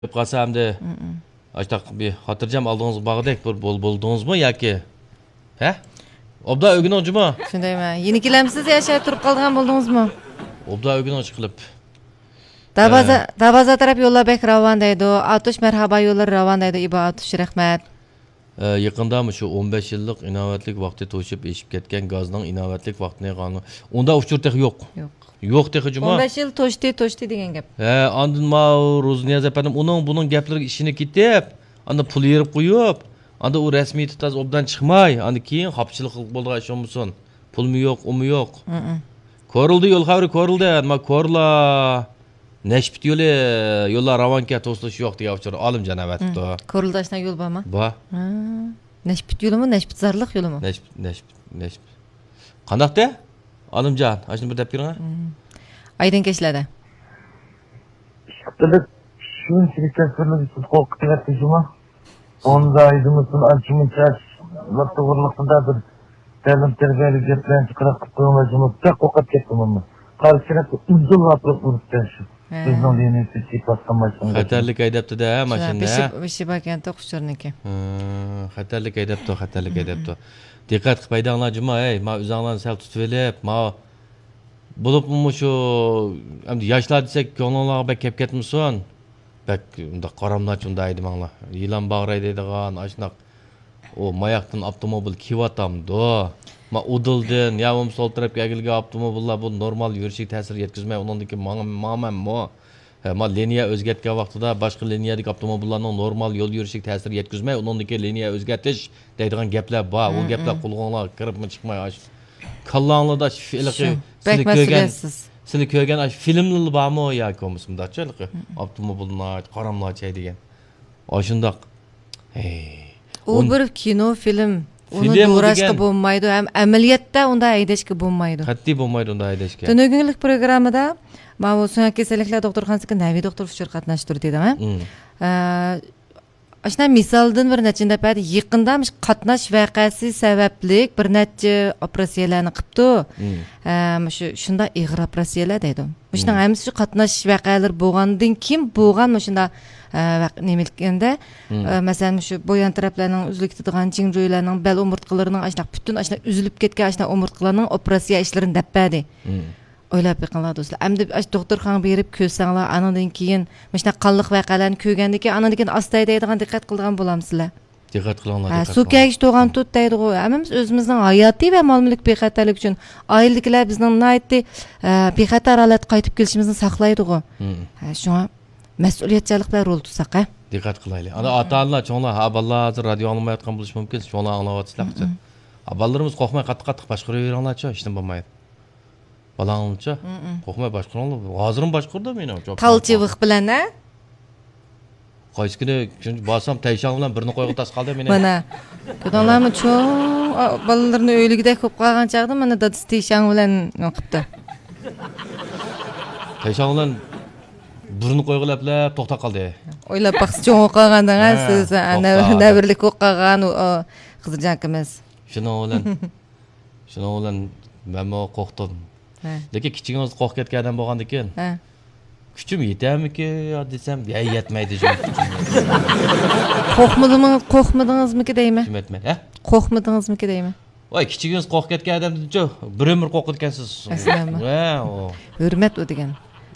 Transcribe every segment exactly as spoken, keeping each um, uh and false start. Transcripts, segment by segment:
قالسا ئەمدى ئاشتاق بىر خاتىرجەم ئالدىڭىزغا بارغۇدەك بىر بول-، بولدىڭىزمۇ ياكى؟ ھە؟ ئوبدان ئۆگىنىڭ جۇمۇ. شۇندايمۇ؟ يېنىك كېلەمسىز يا شۇ تۇرۇپ قالىدىغان بولدىڭىزمۇ؟ ئوبدان ئۆگىنىڭ ئىشقىلىپ. دەرۋازا، ئە. دەرۋازا تەرەپ يوللار بەك راۋان دەيدۇ. ئاتۇش مەرھابا يوللىرى راۋان دەيدۇ، ئىبا ئاتۇش، رەھمەت. ئە، يېقىندا مۇشۇ ئون بەش يىللىق ئىناۋەتلىك ۋاقتى توشۇپ ئېشىپ كەتكەن گازنىڭ ئىناۋەتلىك ۋاقتىنى قانۇن-، ئۇنداق ئۇچۇر تېخى يوق. يوق. يوق تېخى جۇمۇ. ئون بەش يىل توشتى، توشتى دېگەن گەپ. ھە، ئاندىن ماۋۇ روزنىياز ئەپەندىم ئۇنىڭ بۇنىڭ گەپلىرىگە ئىشىنىپ كېتىپ، ئاندىن پۇل يېرىپ قويۇپ، ئاندىن ئۇ رەسمىيىتى تاز ئوبدان چىقماي، ئاندىن كېيىن خاپىچىلىق قىلىپ بولىدىغان ئىش بولمىسۇن. پۇلمۇ يوق، ئۇمۇ يوق. كورلىدى يول خەۋىرى، كورلىدى. نېمە كورلا؟ نەشپۈت يولى، يوللار راۋانكەن، توسۇلۇش يوق دېگەن ئۇچۇر ئالىمجان ئەۋەتىپتۇ. كورلىدا ئاشۇنداق يول بارمۇ؟ بار. ھە. نەشپۈت يولىمۇ، نەشپۈتزارلىق يولىمۇ؟ نەشپۈت، نەشپۈت، نەشپۈت. قانداقتى؟ ئالىمجان، ئاشۇنى بىر دەپ بېرىڭە. ئايدىڭ كەچلەردە. ئىشقىلىپ شۇنچىلىك تەسىرلىك سىز قورقۇپ كېتىۋەتتى جۇمۇ. ئوندا ئايدىمىسىن ئانچە-مۇنچە ئاشۇلار توغرىلىقىدا بىر تەلىم تەربىيەلىك گەپلەرنى چىقىراپ قىلىپ قويۇڭلار جۇمۇ. بەك قورقۇپ كەتتىم ئەمما. قارا كېرەك ئۇزۇنلاپ ئۇرۇپتۇ شۇ. ھە. بىزنىڭ دىنىمىزدىكى پاتقان ماشىنا. خەتەرلىك ھەيدەپتىدە ھە ماشىنىنى. بېشى، بېشى باركەنتى ئۇچۇرنىڭكى. ھە، خەتەرلىك ھەيدەپتۇ، خەتەرلىك ھەيدەپتۇ. دىققەت قىلىپ ھەيدەڭلار جۇمۇ، ھەي، ما ئۆزۈڭلارنى سەل تۇتۇۋېلىپ، ما بولۇپمۇ مۇشۇ ئەمدى ياشلار دېسەك كۆڭلۈڭلارغا بەك كەپ كەتمىسۇن. بەك ئۇنداق قاراملاچ ئۇنداق ھەيدىمەڭلار. يىلان باغراي دەيدىغان ئاشۇنداق ئۇ ماياقتىن ئاپتوموبىل كېلىۋاتامدۇ؟ ما ئۇدۇلدىن يا بولمىسا سول تەرەپكە ئەگىلگەن ئاپتوموبىللار بۇ نورمال يۈرۈشىگە تەسىر يەتكۈزمەي ئۇنىڭدىن كېيىن ماڭ-، ماڭىمەنمۇ؟ ھە، ما لىنىيە ئۆزگەرتكەن ۋاقتىدا باشقا لىنىيەدىكى ئاپتوموبىللارنىڭ نورمال يول يۈرۈشىگە تەسىر يەتكۈزمەي ئۇنىڭدىن كېيىن لىنىيە ئۆزگەرتىش دەيدىغان گەپلەر بار. ئۇ گەپلەر قۇلىقىڭلارغا كىرىپمۇ چىقماي ئاشۇ كاللاڭلاردا ئاشۇ ھېلىقى شۇ، سىلى بەك كۆرگەن، مەسئۇلىيەتسىز. سىلى كۆرگەن ئاشۇ فىلىملىرى بارمۇ ياكى بولمىسا مۇنداقچە ھېلىقى ئاپتوموبىلنى قاراملاچاي دېگەن ئاشۇنداق. ھەي. ئۇ بىر كىنو فىلىم. ئۇنى فىلىم ئۇ دوراشقا دېگەن بولمايدۇ ھەم ئەمەلىيەتتە ئۇنداق ھەيدەشكە بولمايدۇ. قەتئىي بولمايدۇ ئۇنداق ھەيدەشكە. تۈنۈگۈنلۈك پروگراممىدا ماۋۇ سۆڭەك كېسەللىكلەر دوختۇرخانىسىدىكى نەۋى دوختۇر ئۇچۇر قاتناشتۇردى دەڭە. مم. ئە، ئاشۇنداق مىسالدىن بىر نەچچىنى دەپ بەردى. يېقىندا مۇشۇ قاتناش ۋەقەسى سەۋەبلىك بىر نەچچە ئوپېراتسىيەلەرنى قىپتۇ. مم. ئە، مۇشۇ شۇنداق ئېغىر ئوپېراتسىيەلەر دەيدۇ. مۇشۇنىڭ ھەممىسى شۇ قاتناش ۋەقەلىرى بولغاندىن كېيىن بولغان مۇشۇنداق، ئە، ۋەق-، نېمە ئىكەندە، ئە، مەسىلەن، مۇشۇ بويان تەرەپلەرنىڭ ئۈزۈلۈپ كېتىدىغان، جىڭجۇيلارنىڭ بەل ئومۇرتقىلىرىنىڭ ئاشۇنداق پۈتۈن ئاشۇنداق ئۈزۈلۈپ كەتكەن ئاشۇنداق ئومۇرتقىلارنىڭ ئوپېراتسىيە ئىشلىرىنى دەپ بەردى. ئويلاپ بېقىڭلار دوستلار. ئەمدى ئاشۇ دوختۇرخانىغا بېرىپ كۆرسەڭلار، ئانىڭدىن كېيىن مۇشۇنداق قانلىق ۋەقەلەرنى كۆرگەندىن كېيىن، ئانىڭدىن كېيىن ئاستا ھەيدەيدىغان دىققەت قىلىدىغان بولامسىلەر. دىققەت قىلىڭلار، ھە، دىققەت سۇ قىلىڭلار. كەگۈچ توغان تۇت دەيدىغۇ. ھەممىمىز ئۆزىمىزنىڭ ھاياتىي ۋە مال مۈلۈك بىخەتەرلىكى ئۈچۈن، ئائىلىدىكىلەر بىزنىڭ ناھايىتى، ئە، بىخەتەر ھالەتتە قايتىپ كېلىشىمىزنى ساقلايدىغۇ. ھە، شۇڭا مەسئۇلىيەتچانلىق بىلەن رول تۇتساق، ھە. دىققەت قىلايلى. ئانا ئاتا-ئانىلار، چوڭلار، ھە، بالىلار ھازىر رادىيو ئاڭلىمايۋاتقان بولۇشى مۇمكىن، چوڭلار ئاڭلاۋاتىسىلەر. ھە، بالىلىرىمىز قورقماي قاتتىق-قاتتىق باشقۇرۇۋېرىڭلارچۇ، ھېچنېمە بولمايدۇ. بالاڭلارچۇ؟ قورقماي باشقۇرۇڭلار. ھازىرمۇ باشقۇرىدۇ مېنى. تالچىۋىق بىلەن، ھە؟ قايسى كۈنى بارسام تەيشاڭ بىلەن بىرنى قويغا تاسقالدى مېنى. مانا، كۆردۈڭلارمۇ، چوڭ، ئا، بالىلىرىنى ئۆيلىگۈدەك بولۇپ قالغان چاغدا مانا دادىسى تەيشاڭ بىلەن نېمە قىپتۇ. تەيشاڭ بىلەن بىرنى قويغا لەپلەپ توختاپ قالدى. ئويلاپ باقسا چوڭ بولۇپ قالغان دەڭە، ھە، سىز، ئا، توختاپ. نەۋرىلىك بولۇپ قالغان ئۇ، ئا، قىزىرجان ئاكىمىز. شۇنىڭ بىلەن شۇنىڭ بىلەن مەنمۇ قورقتۇم. ھە. لېكىن كىچىكىڭىزدە قورقۇپ كەتكەن ئادەم بولغاندىكىن، ھە، كۈچۈم يېتەرمىكىن يا دېسەم، ھە، يەتمەيدۇ جۇمۇ كۈچۈم. قورقمىدىڭىز-، قورقمىدىڭىزمىكى دەيمەن. كۈچۈم يەتمەيدۇ، ھە؟ قورقمىدىڭىزمىكى دەيمەن. ۋاي، كىچىكىڭىز قورقۇپ كەتكەن ئادەمدىنچۇ بىر ئۆمۈر قورقىدىكەنسىز. ئەسلىمۇ. ۋە، ئۇ. ھۆرمەت ئۇ دېگەن.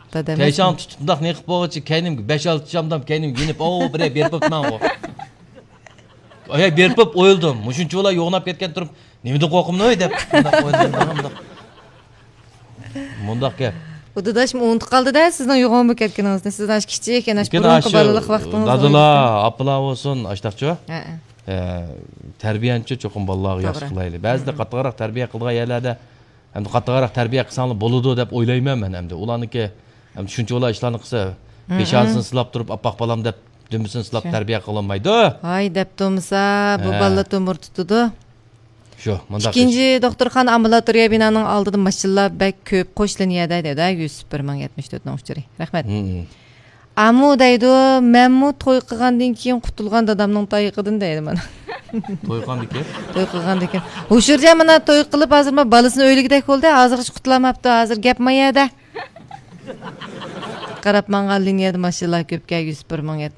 دادا ئەمەسمۇ؟ تەيشاڭ تۇتۇپ مۇنداق نېقىپ بولغۇچە كەينىمگە بەش-ئالتە چامدام كەينىمگە يېنىپ، ئاۋۇ بىرەر بېرىپ ئۆپمەڭغۇ. ئايا بېرىپ ئويلىدىم. مۇشۇنچىۋالا يوغىناپ كەتكەن تۇرۇپ، نېمىدىن قورقۇمدۇ دەپ. مۇنداق ئويلىدىم، مۇنداق. مۇنداق گەپ. ئۇ داداشمۇ ئۇنتۇپ قالدى-دە، سىزنىڭ يوغان بولۇپ كەتكىنىڭىزنى. سىز ئاشۇ كىچىك، يەنە ئاشۇ لېكىن بۇرۇنقى ئاشۇ بالىلىق ۋاقتىڭىزنى دادىلار، ئويلىسىڭىز. ئاپىلار بولسۇن، ئاشتاقچۇ؟ ھەئە. ئە، تەربىيەنىچۇ چوقۇم بالىلارغا ياخشى قىلايلى. بەزىدە قاتتىقراق تەربىيە قىلىدىغان يەرلەردە ئەمدى قاتتىقراق تەربىيە قىلساڭلار بولىدۇ دەپ ئويلايمەن مەن ئەمدى. ئۇلارنىڭكى ئەمدى شۇنچىۋالا ئىشلارنى قىلسا، پېشانىسىنى سىلاپ تۇرۇپ، ئاپئاق بالام دەپ دۈمبىسىنى سىلاپ تەربىيە قىلالمايدۇ. ھاي دەپ تۇرمىسا، بۇ بالىلار تومۇر تۇتىدۇ. شۇ، مۇنداق ئىككىنچى دوختۇرخانا ئامبۇلاتورىيە بىنانىڭ ئالدىدا ماشىنىلار بەك كۆپ، قوش لىنىيەدە دەيدۇ، يۈسۈپ بىر مىڭ يەتمىش تۆتنىڭ ئۇچۇرى. رەھمەت. ئامۇ دەيدۇ، مەنمۇ توي قىلغاندىن كېيىن قۇتۇلغان دادامنىڭ تايىقىدىن دەيدۇ مانا. توي قىلغاندىن كېيىن؟ توي قىلغاندىن كېيىن. ھوشۇرجان مانا توي قىلىپ، ھازىر مانا بالىسىنى ئۆيلىگۈدەك بولدى، ھازىرغىچە قۇتۇلالماپتۇ، ھازىر گەپ ما يەردە. قاراپ ماڭغان لىنىيەدە ماشىنىلار كۆپكەن، يۈز بىر مىڭ يەتمىش.